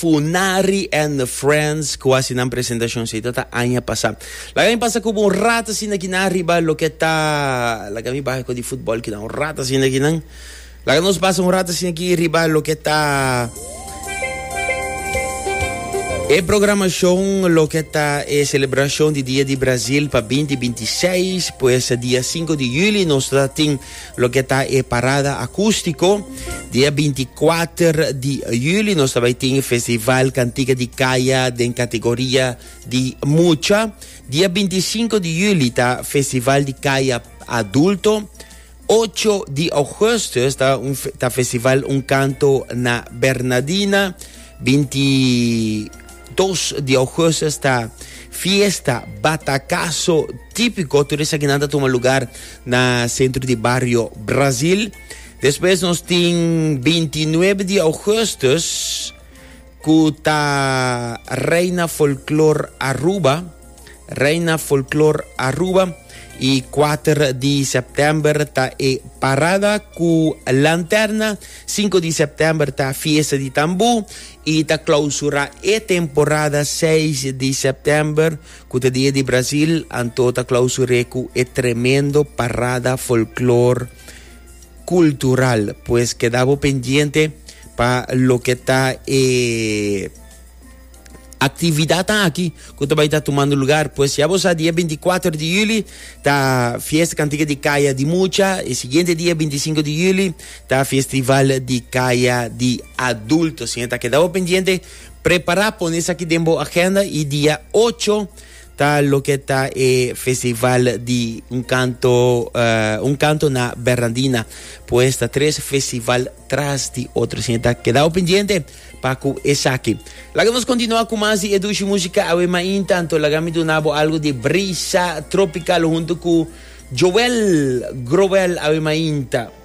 Funari and the Friends ku hasi nan presentashon si ta aña pasá. Laga mi pasa ku bo un rato asina kinan riba loke ta laga mi baha ku di futbòl kinan un rato asina kinan. Laga nos pasa un rato asina aki riba loke ta e programashon loke ta e selebrashon di Dia di Brazil pa 2026 pues dia 5 di juli nos ta tin Loke ta e parada akústiko, dia 24 di juli nos ta bai tin e festival Kantika di Kaya den kategoria di mucha. Dia 25 di juli ta festival di kaya adulto. 8 di augustus ta, un, ta festival Un Kanto na Bernadina. 22 di augustus ta fiesta Batakaso Típico. Tur esakinan ta tuma lugar na Centro di Bario Brasil. Despues nos tin 29 di augustus ku ta Reina Folklor Aruba. Reina Folklor Aruba. Y 4 di september ta e parada ku lanterna. 5 di september ta fiesta di tambú. Y ta clausura e temporada 6 di september Ku ta dia di Brasil, anto ta klausur'é ku e tremendo parada folklor kultural. Pues keda bo pendiente pa loke ta e aktividatnan aki ku ta bai ta tumando lugar. Pues ya bo sa dia 24 di juli ta fiesta kantika di kaya di mucha, e siguiente dia 25 di juli ta festival di kaya di adulto. Asina ta keda bo pendiente. Prepara pone esaki den bo agenda y dia ocho ta loke ta e festival di un canto uh, un canto na Bernardina. Pues ta tres festival tras di otro. Asina ta keda pendiente pa ku esaki. Laga nos continua ku mas di e dushi musica awe mainta. Anto laga mi duna bo algo di brisa tropical hunto ku Joel Growell awe mainta.